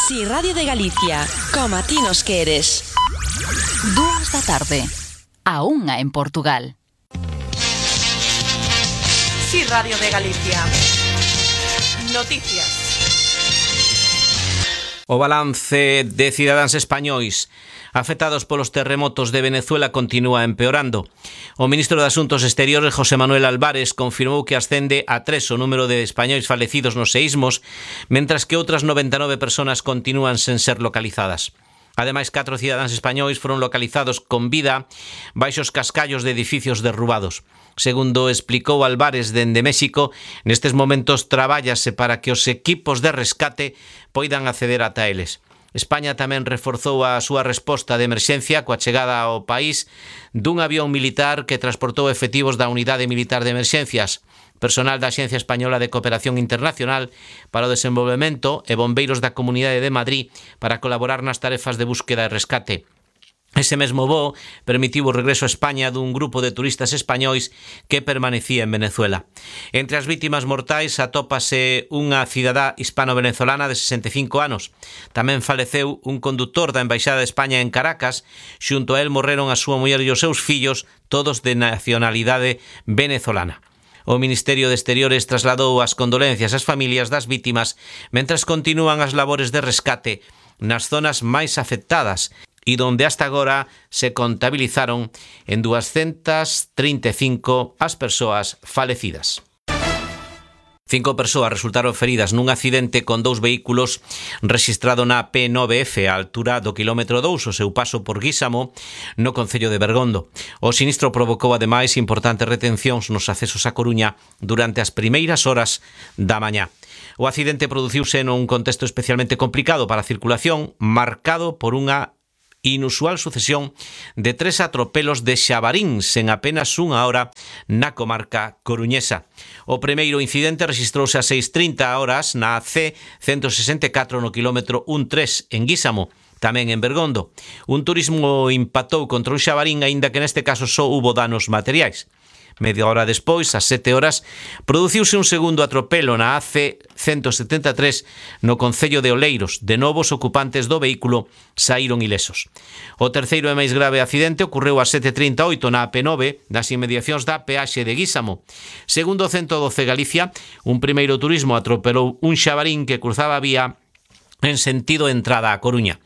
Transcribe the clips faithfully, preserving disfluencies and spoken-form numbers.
Si Radio de Galicia, como a ti nos queres. Dúas da tarde, a unha en Portugal. Si Radio de Galicia. Noticias. O balance de cidadáns españois afectados polos terremotos de Venezuela continúa empeorando. O ministro de Asuntos Exteriores, José Manuel Álvarez, confirmou que ascende a tres o número de españois falecidos nos seísmos, mentras que outras noventa e nove persoas continúan sen ser localizadas. Ademais, catro cidadáns españois foron localizados con vida baixo os cascallos de edificios derrubados. Segundo explicou Álvarez dende México, nestes momentos trabállase para que os equipos de rescate poidan acceder ata eles. España tamén reforzou a súa resposta de emerxencia coa chegada ao país dun avión militar que transportou efectivos da Unidade Militar de Emerxencias, personal da Axencia Española de Cooperación Internacional para o Desenvolvemento e bombeiros da Comunidade de Madrid para colaborar nas tarefas de búsqueda e rescate. Ese mesmo voo permitiu o regreso a España dun grupo de turistas españois que permanecía en Venezuela. Entre as vítimas mortais atópase unha cidadá hispano-venezolana de sesenta e cinco anos. Tamén faleceu un condutor da Embaixada de España en Caracas. Xunto a él morreron a súa muller e os seus fillos, todos de nacionalidade venezolana. O Ministerio de Exteriores trasladou as condolencias ás familias das vítimas mentras continúan as labores de rescate nas zonas máis afectadas e donde hasta agora se contabilizaron en doscientas trinta e cinco as persoas falecidas. Cinco persoas resultaron feridas nun accidente con dous vehículos rexistrado na P nove F á altura do quilómetro dous, o seu paso por Guísamo, no concello de Bergondo. O sinistro provocou ademais importantes retencións nos accesos a Coruña durante as primeiras horas da mañá. O accidente produciuse nun contexto especialmente complicado para a circulación, marcado por unha inusual sucesión de tres atropelos de xabaríns en apenas unha hora na comarca coruñesa. O primeiro incidente rexistrouse a seis trinta horas na C ciento sesenta e catro no quilómetro trece en Guísamo, tamén en Bergondo. Un turismo impactou contra un xabarín, aínda que neste caso só hubo danos materiais. Media hora despois, ás sete horas, produciuse un segundo atropelo na A C ciento setenta e tres no concello de Oleiros. De novo, os ocupantes do vehículo saíron ilesos. O terceiro e máis grave accidente ocorreu ás sete trinta e oito na A P nove, nas inmediacións da peaxe de Guísamo. Segundo o ciento doce Galicia, un primeiro turismo atropelou un xabarín que cruzaba a vía en sentido entrada a Coruña.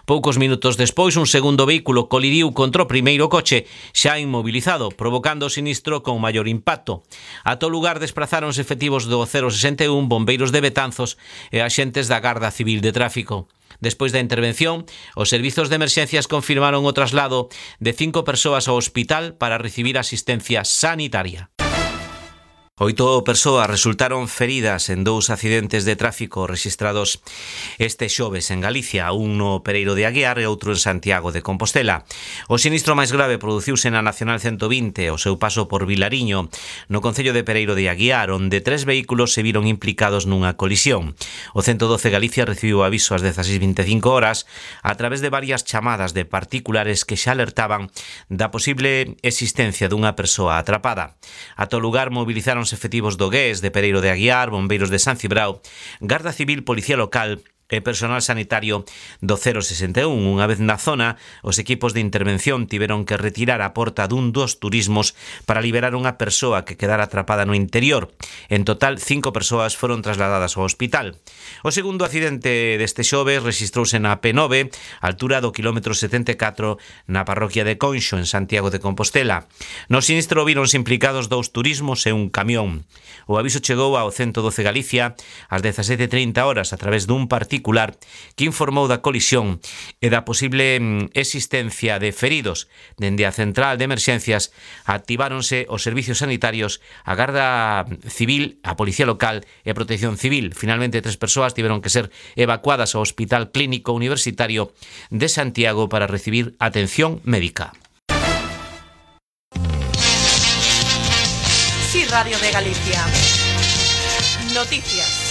Poucos minutos despois, un segundo vehículo colidiu contra o primeiro coche, xa inmobilizado, provocando o sinistro con maior impacto. A todo lugar desprazáronse efectivos do cero sesenta e un, bombeiros de Betanzos e axentes da Garda Civil de Tráfico. Despois da intervención, os servizos de emerxencias confirmaron o traslado de cinco persoas ao hospital para recibir asistencia sanitaria. Oito persoas resultaron feridas en dous accidentes de tráfico rexistrados este xoves en Galicia, un no Pereiro de Aguiar e outro en Santiago de Compostela. O sinistro máis grave produciuse na Nacional ciento vinte, o seu paso por Vilariño, no concello de Pereiro de Aguiar, onde tres vehículos se viron implicados nunha colisión. O ciento doce Galicia recibiu aviso ás dezaseis vinte e cinco horas a través de varias chamadas de particulares que xa alertaban da posible existencia dunha persoa atrapada. A todo lugar movilizaron efectivos do G E S de Pereiro de Aguiar, bombeiros de San Cibrao, Garda Civil, Policía Local e personal sanitario do cero sesenta e un. Unha vez na zona, os equipos de intervención tiveron que retirar a porta dun dos turismos para liberar unha persoa que quedara atrapada no interior. En total, cinco persoas foron trasladadas ao hospital. O segundo accidente deste xoves rexistrouse na P nove, altura do quilómetro setenta e catro, na parroquia de Conxo, en Santiago de Compostela. No sinistro víronse implicados dous turismos e un camión. O aviso chegou ao ciento doce Galicia ás dezasete trinta horas a través dun particular que informou da colisión e da posible existencia de feridos. Dende a central de emerxencias activáronse os servicios sanitarios, a Garda Civil, a Policía Local e a Protección Civil. Finalmente, tres persoas tiveron que ser evacuadas ao Hospital Clínico Universitario de Santiago para recibir atención médica. Si Radio de Galicia. Noticias.